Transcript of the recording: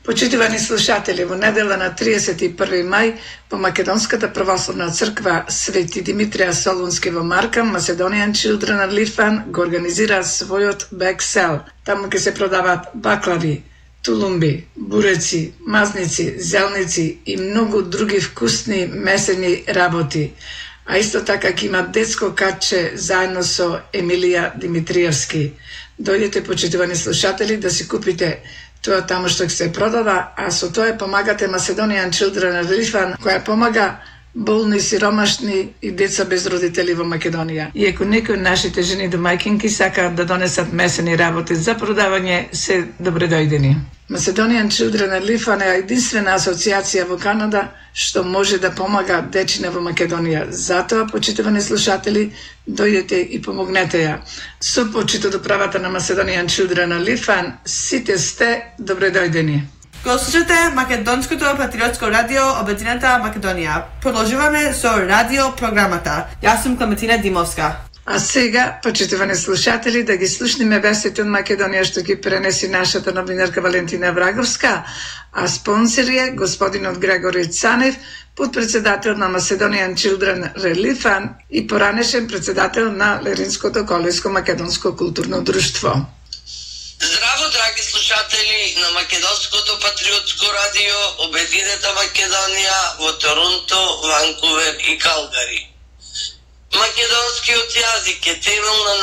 Почитувани слушатели, во недела на 31 мај по Македонската православна црква Свети Димитрија Солунски во Маркам, Macedonian Children of Litvan го организира својот бексел. Таму ќе се продаваат баклави, тулумби, буреци, мазници, зелници и многу други вкусни месени работи. А исто така ќе има детско катче заедно со Емилија Димитриевски. Дојдете, почитувани слушатели, да си купите тоа таму што ќе се продава, а со тоа помагате Macedonian Children of Litvan, која помага болни, сиромашни и деца без родители во Македонија. И ако некои од нашите жени домаќинки сакаат да донесат месени работи за продавање, се добре дојдени. Macedonian Children of Litvan е единствена асоциација во Канада што може да помага дечине во Македонија. Затоа, почитувани слушатели, дојдете и помогнете ја. Со почит од управата на Macedonian Children of Litvan, сите сте добре дојдени. Го слушате Македонското патриотско радио Обединета Македонија. Продолжуваме со радио програмата. Јас сум Клементина Димовска. А сега, почитувани слушатели, да ги слушнеме вестите од Македонија што ги пренеси нашата новинарка Валентина Враговска, а спонсор е господинот Грегори Цанев, подпредседател на Macedonian Children of Litvan и поранешен председател на Леринското колеско македонско културно друштво. Здраво, драги слушатели на Македонското патриотско радио Обединета Македонија во Торонто, Ванкувер и Калгари. Македонскиот јазик е темел на